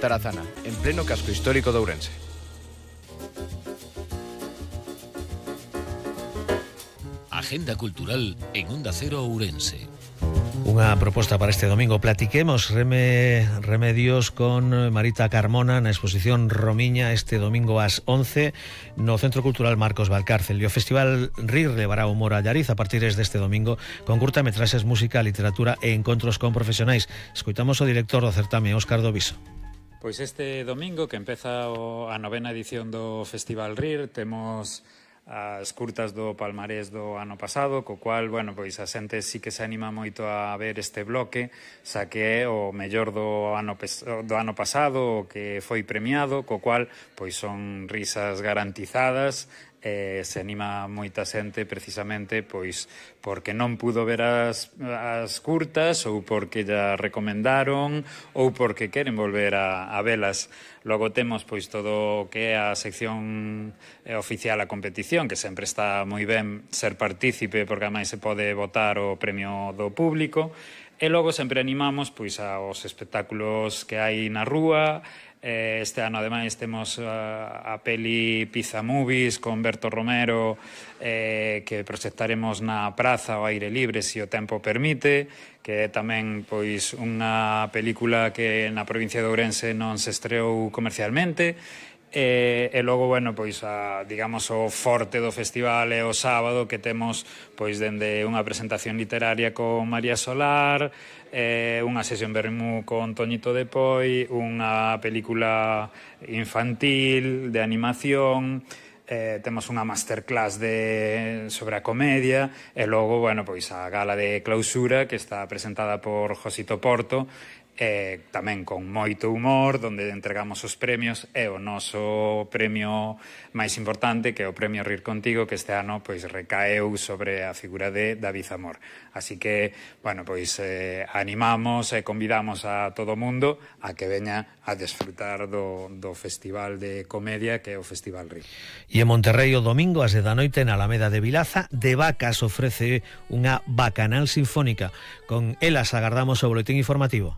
Tarazana, en pleno casco histórico de Ourense. Agenda cultural en Onda Cero Ourense. Unha proposta para este domingo. Platiquemos remedios con Marita Carmona na exposición Romiña este domingo ás 11 no Centro Cultural Marcos Valcárcel. E o Festival RIR levará humor a Llariz a partir deste domingo con curtametraxes, música, literatura e encontros con profesionais. Escoitamos o director do certame, Óscar Doviso. Pois este domingo, que empeza a 9ª edición do Festival RIR, temos as curtas do palmarés do ano pasado, co cual, bueno, pois a xente sí que se anima moito a ver este bloque, xa que é o mellor do ano pasado, o que foi premiado, co cual, pois son risas garantizadas, se anima moita xente precisamente pois porque non pudo ver as curtas ou porque ya recomendaron ou porque queren volver a velas. Logo temos pois todo o que é a sección oficial a competición, que sempre está moi ben ser partícipe porque ademais se pode votar o premio do público. E logo sempre animamos pois aos espectáculos que hai na rúa. Este ano ademais temos a peli Pizza Movies con Berto Romero, que proxectaremos na praza ao aire libre se o tempo permite, que é tamén pois unha película que na provincia de Ourense non se estreou comercialmente. E logo, bueno, pois digamos o forte do festival é o sábado, que temos pois dende unha presentación literaria con María Solar, unha sesión vermú con Toñito de Poi, unha película infantil de animación, temos unha masterclass sobre a comedia e logo, bueno, pois a gala de clausura que está presentada por Josito Porto, tamén con moito humor, onde entregamos os premios e o noso premio máis importante, que é o premio Rir Contigo, que este ano pois recaeu sobre a figura de David Zamor. Así que, bueno, pois animamos e convidamos a todo o mundo a que veña a desfrutar do festival de comedia que é o Festival Rir. E en Monterrei o domingo ás 10 da noite na Alameda de Vilaza, De Vacas ofrece unha bacanal sinfónica. Con elas agardamos o boletín informativo.